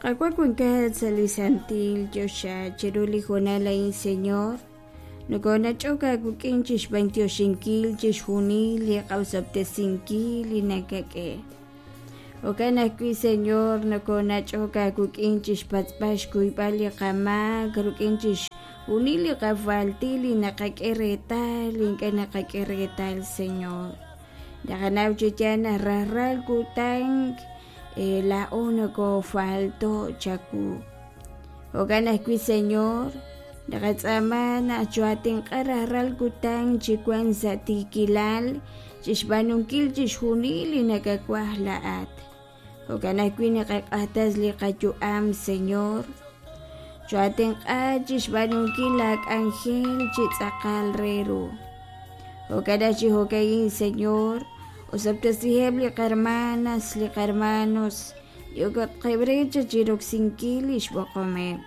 Qaawa' wankat sa' li santil choxa chiru li hoonal a'in, Señor, nokonach'ok aawik'in chixb'antioxinkil chixjunil li qa'osob'tesinkil li nakak'e. Jo'kan ajwi', Señor, nokonach'ok aawik'in chixpatz'b'al xkuyb'al li qamaak rik'in chixjunil li qafaltil li naqak'e reetal li ink'a' naqak'e reetal, Señor. Naqanaw chi yaal naq rajlal kutan laa'o nokofalto' chawu. Jo'kan ajwi', Señor, naqatz'aama naq choo'atenq'a rajlal kutan chi wank sa' tiikilal chixb'aanunkil chixjunil li nakawaj laa'at. Jo'kan ajwi' naqaq'axtes li qayu'am, Señor. Choo'atenq'a chixb'aanunkil laak'anjel chi tz'aqal re ru. Jo'kan chi jo'ka'in, Señor, osob'tesiheb' li qarmanas, li qarmanos, yookatqeb' re chiroksinkil li xb'oqomeb'.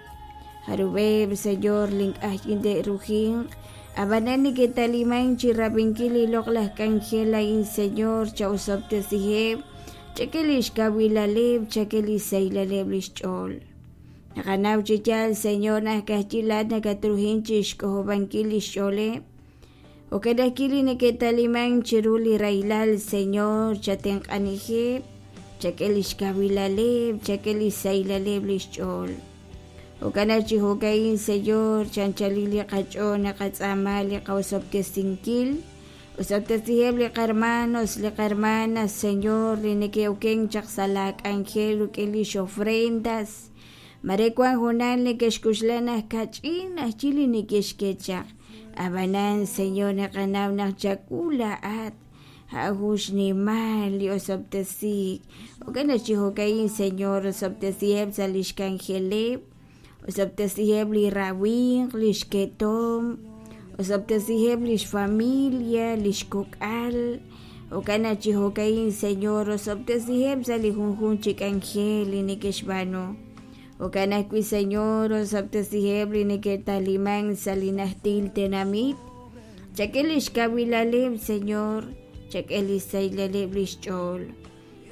Jarub'eb', Señor, li ink'a' te'rujinq, ab'anan neke'talimank chi rab'inkil li loq'laj k'anjel a'in, Señor, cha'osob'tesiheb', chak'e li xkawilaleb', chak'e li xsahilaleb' li xch'ool. Naqanaw chi yaal, Señor, naq ka'ajwi' laa'at nakatrujink chi xk'ojob'ankil li xch'ooleb'. Jo'kan ajwi' li neke'talimank chiru li rahilal, Señor, chatenq'anijeb', chak'e li xkawilaleb', chak'e li xsahilaleb' li xch'ool. Jo'kan naq chi jo'ka'in, Señor, chanchalil li qach'ool naqatz'aama li qa'osob'tesinkil. Osob'tesiheb' li qarmanos, li qarmanas, Señor, li neke'okenk chaq sa' laak'anjel rik'in lix ofrendas. Mare wank hoonal neke'xk'oxla naq kach'in ajwi' li neke'xk'e chaq. Ab'anan, Señor, naqanaw naq chawu laa'at a'an jun xnimal li osob'tesiik. Jo'kan naq chi jo'ka'in, Señor, osob'tesiheb' sa' lix k'anjeleb', osob'tesiheb' li rawimq, li xketom, osob'tesiheb' li xfamilia, li xkok'al. Jo'kan naq chi jo'ka'in, Señor, osob'tesiheb' sa' li junjunq chi k'anjel li neke'xb'aanu. Jo'kan ajwi', Señor, osob'tesiheb' li neke'talimank sa' li najtil tenamit. Chak'e li xkawilaleb', Señor, chak'e li xsahilaleb' li xch'ool.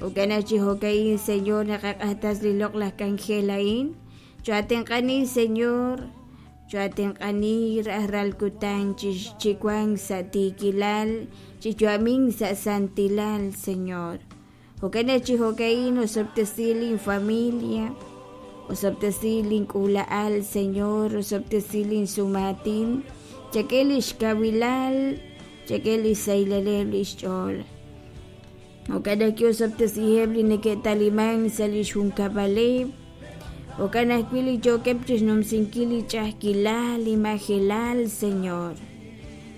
Jo'kan naq chi jo'ka'in, Señor, naqaq'axtes li loq'laj k'anjel a'in. Choo'atenq'ani, Señor, choo'atenq'ani rajlal kutan chi wank sa' tiikilal, chi yu'amink sa' santilal, Señor. Jo'kan naq chi jo'ka'in osob'tesi linfamilia, osob'tesi link'uula'al, Señor, osob'tesi linsumaatin, chak'e li xkawilal, chak'e li xsahilaleb' li xch'ool. Jo'kan ajwi' osob'tesiheb' li neke'talimank sa' li xjunkab'aleb', jo'kan ajwi' li yookeb' chi xnumsinkil li ch'a'ajkilal, li majelal, Señor.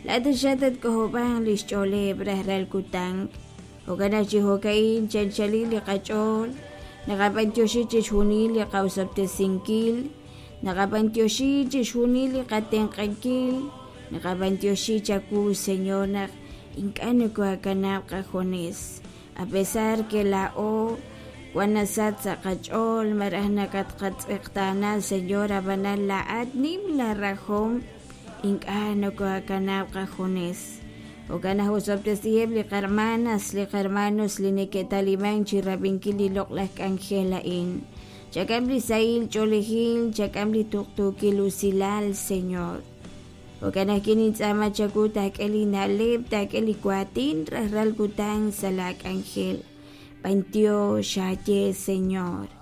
Laa'at taxaq tatk'ojob'anq li xch'ooleb' rajlal kutan. Jo'kan naq chi jo'ka'in chanchalil li qach'ool, naqab'antioxi chixjunil li qa'osob'tesinkil, naqab'antioxi chixjunil li qatenq'ankil, naqab'antioxi chawu, Señor, naq ink'a' nokohakanab' qajunes. A pesar que laa'o wan nasach sa' qach'ool malaj nakatqatz'eqtaana, Señor, ab'anan laa'at nim laa rajom, ink'a' nokohakanab' qajunes. Jo'kan naq osob'tesiheb' li qarmanas, li qarmanos li neke'talimank chi rab'inkil li loq'laj k'anjel a'in. Chak'am li sahil ch'oolejil, chak'am li tuqtuukil usilal, Señor. Jo'kan ajwi' nintz'aama chawu taak'e li na'leb', taak'e li waatin rajlal kutan sa' laa k'anjel. B'antiox aaye, Señor.